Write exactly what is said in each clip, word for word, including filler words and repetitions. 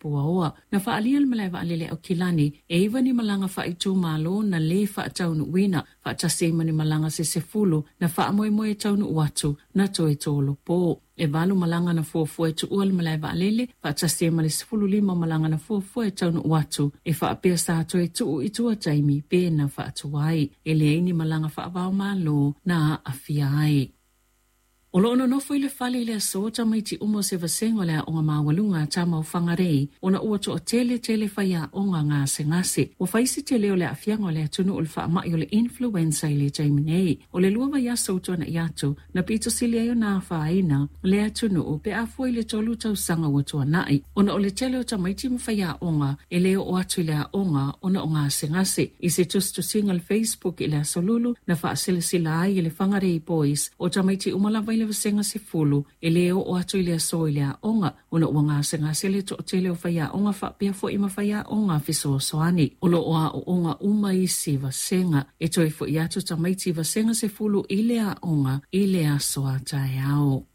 Puaoa. Na faaalia e le malae vaalele Aukilani e iva ni malaga faaitumalo na lē faataunuuina, faatasi ai ma ni malaga se sefulu na faamoemoe e taunuu atu na toe tolopo. E valu malaga na fuafua e tuua le malae vaalele, faatasi ai ma le sefulu lima malaga na fuafua e taunuu atu e faapea sa toe tuu i tua taimi pe na faatuai. E leai ni malaga faavaomalo na aafia ai. O loo nonofo i le fale i le aso tamaiti uma o se vasega o le aoga maualuga a tama o Whangarei ona ua toatele tele faiaoga gasegase. Ua fai si tele o le aafiaga o le atunuu i le faamai o le influenza i le taimi nei. O le lua vaiaso ua tuanai atu na pito sili ai ona afaina le atunuu pe a fua i le tolu tausaga ua tuanai, ona o le tele o tamaiti ma faiaoga e le oo atu i le aoga ona o gasegase. I se tusitusiga i le Facebook i le aso Lulu na faasilasila ai e le Whangarei Boys o tamaiti uma lava i le vasega sefulu e le oo atu i le aso i le aoga ona ua gasegase le toatele o faiaoga faapea foi ma faiaoga fesoasoani. O loo aooga uma isi vasega e toe foi atu tamaiti vasega sefulu i le aoga i le aso a taeao.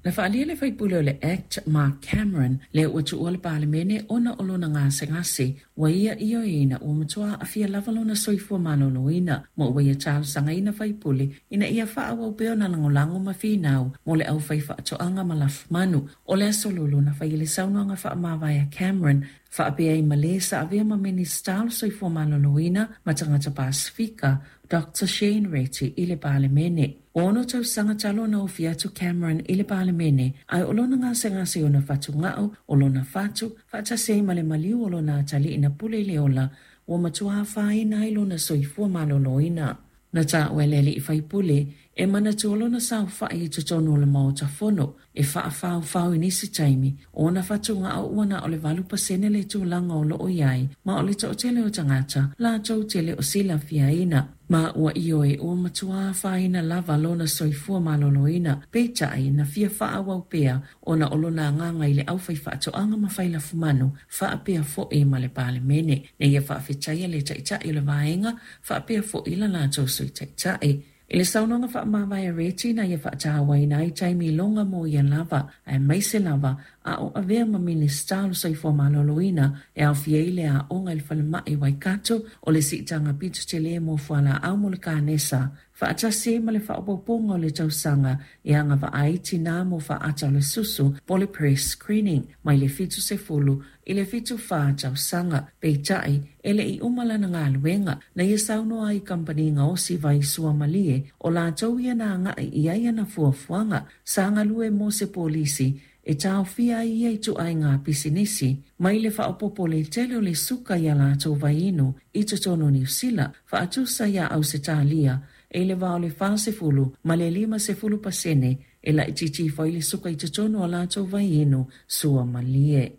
Na faaalia e le faipule o le Act Mark Cameron le ua tuua le Palemene ona o lona gasegase ua ia ioeina ua matua aafia lava lona soifua maloloina, ma ua ia talosagaina faipule ina ia faaauau pea ona lagolago ma finau mo le aufai faatoaga ma lafumanu. O le aso Lulu na fai le saunoaga faamavae a Cameron faapea ai ma le sa avea ma Minista o le Soifua Maloloina ma Tagata Pasifika Doctor Shane Reti i le Palemene. Ua ono tausaga talu ona ofi atu Cameron i le Palemene, ae o lona gasegase ona fatugao, o lona fatu, faatasi ai ma le maliu o lona atalii na pule i le ola, ua matua afaina ai lona soifua maloloina. Na taua e le alii faipule e manatua lona saofai i totonu o le Maota Fono e faafaofao i nisi taimi ona fatugao ua na o le valu pasene le tulaga o loo i ai, ma o le toatele o tagata latou te le o silafiaina. Ma ua ioe ua matua afaina lava lona soifua maloloina, peitai na fia faaauau pea ona o lona agaga i le aufai faatoaga ma failafumanu faapea foi ma le Palemene. Na ia faafetaia le taitai o le vaega faapea foi la latou sui taitai. I le saunoaga faamavae a Reti na ia faatauaina ai taimi loga mo ia lava, aemaise lava a o avea ma Minista o le Soifua Maloloina e aofia ai le aoga i le falemai Waikato o le siitaga pito tele mo fualaau mo le kanesa, faatasi ai ma le faaopoopoga o le tausaga e agavaa ai tinā mo faata o le susu po o le pre-screening mai le fitu sefulu i le fitu fa tausaga. Peitai e le i uma lana galuega na ia saunoa ai kamupani gaosi vai suamalie o latou ia na agai i ai ana fuafuaga sa galue mo se polisi e taofia ai ia i tuaiga pisinisi mai le faaopoopo le tele o le suka ia latou vaiinu i totonu o Niu Sila faatusa iā Ausetalia e le va o le fasefulu ma le lima sefulu pasene e laitiiti ifo ai le suka i totonu o latou vaiinu suamalie.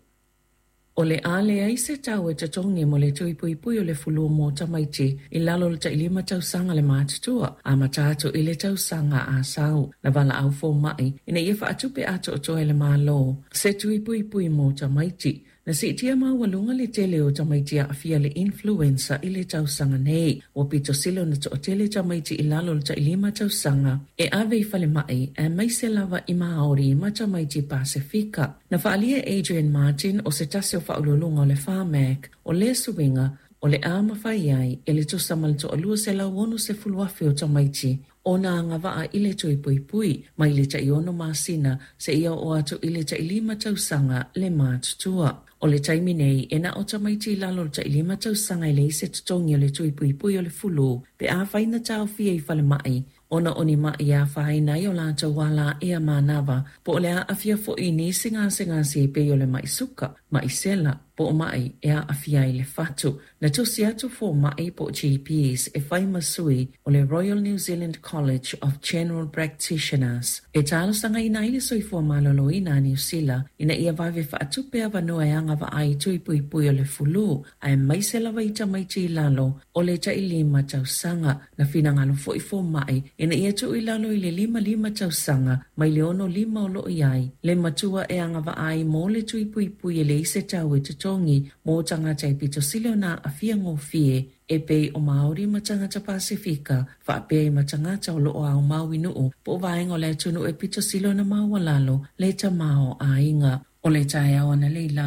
O le a leai se tau e totogi mo le tui puipui o le fulu mo tamaiti i lalo o le tailima tausaga le matutua amata atu i le tausaga a sau. Na valaau foma'i ina ia faatupe atoatoa e le Malo se tui puipui mo tamaiti. Na siitia maualuga le tele o tamaiti aafia le influenza i le tausaga nei. Ua pito sili ona toatele tamaiti i lalo o le tailima tausaga e ave i falemai, aemaise lava i Maori ma tamaiti Pasifika. Na faaalia e Adrian Martin o se tasi o faauluuluga o le Pharmac o lea suiga o le a mafai ai e le tusa ma le toalua selau ono sefulu afe o tamaiti ona agavaa i le tui puipui mai le taiono masina seia oo atu i le tailima tausaga le matutua. O le taimi nei e na o tamaiti i lalo o le tailima tausaga e leai se totogi o le tui puipui o le fulu pe afai na taofia i falemai ona o ni ma'i e afaina ai o latou ala ea manava po o le aafia foi i nisi gasegase e pei o le ma'i suka, ma'i sela, po o ma'i e aafia ai le fatu. Na tusi atu foma'i po o G Ps e fai ma sui o le Royal New Zealand College of General Practitioners e talosagaina ai le soifua maloloina a Niu Sila ina ia vave faatupe avanoa e agavaa ai i tui puipui o le fulu, aemaise lava i tamaiti i lalo o le tailima tausaga. Na finagalo foi foma'i ina ia tuu i lalo i le lima lima tausaga mai le ono lima o loo i ai le matua e agavaa ai mo le tui puipui e leai se tau e totogi mo tagata e pito sili ona aafia gofie e pei o Maori ma tagata Pasifika faapea ai ma tagata o loo aomau i nuu po o vaega o le atunuu e pito sili ona maualalo le tamaoaiga. O le taeao analeila.